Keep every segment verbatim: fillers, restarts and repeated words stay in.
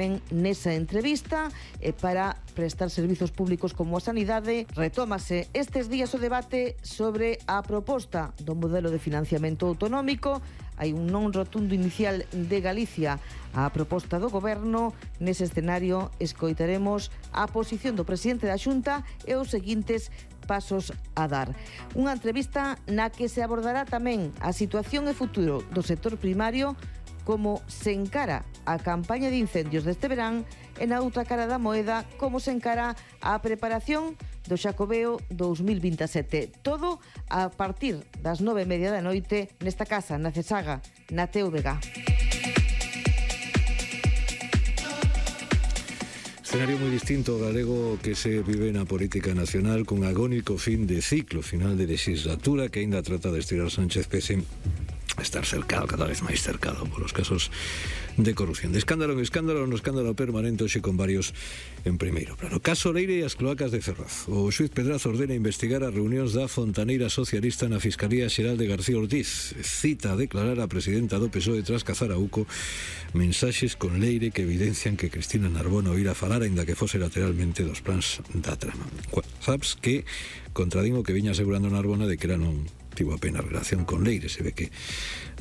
Nesa entrevista, e para prestar servizos públicos como a sanidade, retómase estes días o debate sobre a proposta do modelo de financiamento autonómico. Hai un non rotundo inicial de Galicia á proposta do Goberno. Nese escenario escoitaremos a posición do presidente da Xunta e os seguintes pasos a dar. Unha entrevista na que se abordará tamén a situación e futuro do sector primario, como se encara a campaña de incendios deste verán, e na outra cara da moeda, como se encara a preparación do Xacobeo dous mil vinte e sete. Todo a partir das nove e media da noite nesta casa, na Cesaga, na T V G. Escenario moi distinto ao galego que se vive na política nacional, con agónico fin de ciclo, final de legislatura, que aínda trata de estirar Sánchez pese a estar cercado, cada vez máis cercado polos casos de corrupción. De escándalo en escándalo, no escándalo permanente, hoxe con varios en primeiro plano. Caso Leire e as cloacas de Ferraz. O xuíz Pedraza ordena investigar as reunións da fontaneira socialista na Fiscalía Xeral de García Ortiz. Cita a declarar a presidenta do P S O E tras cazar a Uco mensaxes con Leire que evidencian que Cristina Narbona oíra falar, aínda que fose lateralmente, dos plans da trama. Sabes que contradín o que viña asegurando Narbona de que era non tivo apenas relación con Leire, se ve que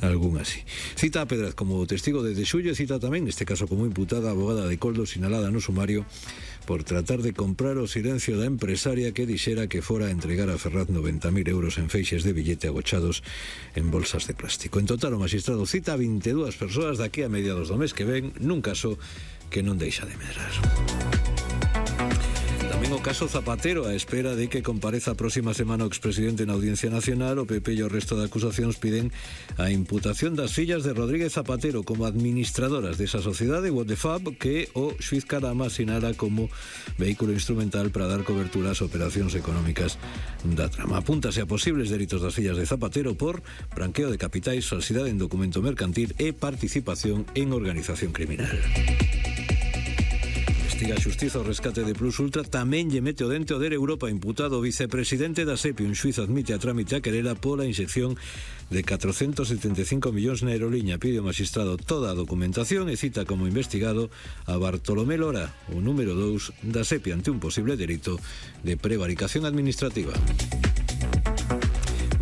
algún así. Cita a Pedraz como testigo desde xullo, cita tamén, neste caso como imputada, a abogada de Coldo, sinalada no sumario por tratar de comprar o silencio da empresaria que dixera que fora a entregar a Ferraz noventa mil euros en feixes de billete agochados en bolsas de plástico. En total, o magistrado cita a vinte e dúas persoas daqui a mediados do mes que ven, nun caso que non deixa de medrar. Tamén o caso Zapatero, a espera de que compareza a próxima semana o expresidente na Audiencia Nacional. O P P e o resto de acusacións piden a imputación das fillas de Rodríguez Zapatero como administradoras desa sociedade, What the Fab, que o xuíz Carama sinala como vehículo instrumental para dar cobertura ás operacións económicas da trama. Apúntase a posibles delitos das fillas de Zapatero por branqueo de capitais, falsidade en documento mercantil e participación en organización criminal. Investiga a Xustiza o rescate de Plus Ultra. Tamén lle mete o dente o D E R Europa, imputado o vicepresidente da SEPI. Un xuiz admite a trámite a querela pola inxección de catrocentos setenta e cinco millóns na aeroliña. Pide o magistrado toda a documentación e cita como investigado a Bartolomé Lora, o número dous da SEPI, ante un posible delito de prevaricación administrativa.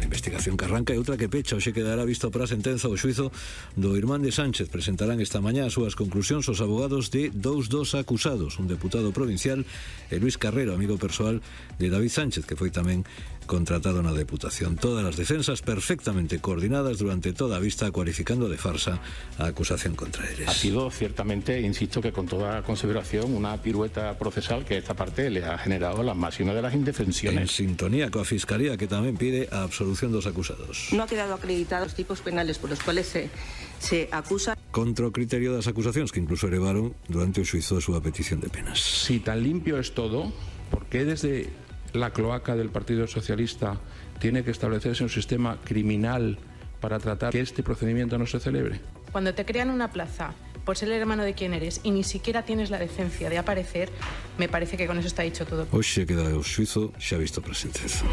Investigación que arranca e outra que pecha. Hoxe quedará visto para a sentenza o xuizo do irmán de Sánchez. Presentarán esta mañá as súas conclusións os abogados de dous dos acusados, un deputado provincial e Luis Carrero, amigo persoal de David Sánchez, que foi tamén contratado na Deputación. Todas as defensas perfectamente coordinadas durante toda a vista, cualificando de farsa a acusación contra eles. Ha sido ciertamente, insisto, que con toda consideración, una pirueta procesal que esta parte le ha generado la máxima de las indefensiones. En sintonía coa Fiscalía, que tamén pide a absolución dos acusados. No ha quedado acreditados tipos penales por los cuales se, se acusa. Contra o criterio das acusacións, que incluso elevaron durante o xuizo a súa petición de penas. Si tan limpio es todo, ¿por qué desde la cloaca del Partido Socialista tiene que establecerse un sistema criminal para tratar que este procedimiento no se celebre? Cuando te crean una plaza por ser el hermano de quien eres y ni siquiera tienes la decencia de aparecer, me parece que con eso está dicho todo. Hoxe queda o xuizo xa visto para a sentenza.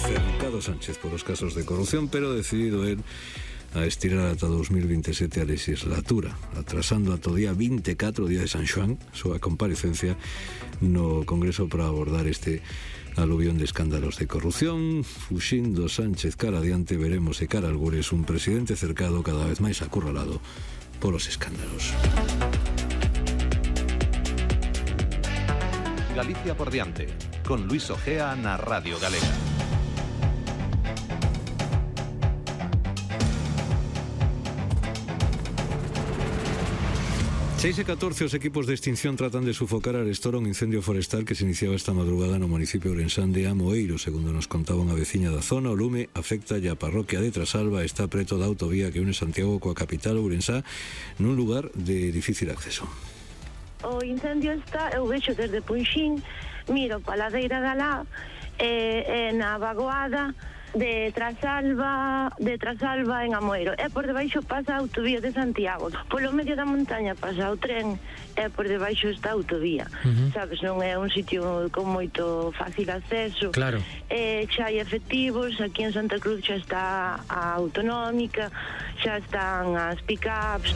Cercado Sánchez por os casos de corrupción, pero decidido él a estirar ata dos mil vinte e sete a legislatura, atrasando ata o día vinte e catro, o día de San Xoán, súa comparecencia no Congreso para abordar este aluvión de escándalos de corrupción. Fuxindo Sánchez cara adiante, veremos se cara algures un presidente cercado cada vez máis acurralado polos escándalos. Galicia por diante, con Luis Ojea na Radio Galega. seis e catorce, os equipos de extinción tratan de sufocar a arestora un incendio forestal que se iniciaba esta madrugada no municipio ourensán de Amoeiro. Segundo nos contaba unha veciña da zona, o lume afecta a parroquia de Trasalba, está preto da autovía que une Santiago coa capital Ourensá, nun lugar de difícil acceso. O incendio está, eu vexo desde Punxín, miro pa ladeira da lá, e, e na vagoada de Trasalba, de Trasalba en Amoeiro, e por debaixo pasa a autovía de Santiago. Polo medio da montaña pasa o tren e por debaixo está a autovía. Uh-huh. Sabes, non é un sitio con moito fácil acceso. Claro. E xa hai efectivos, aquí en Santa Cruz xa está a autonómica, xa están as pick-ups.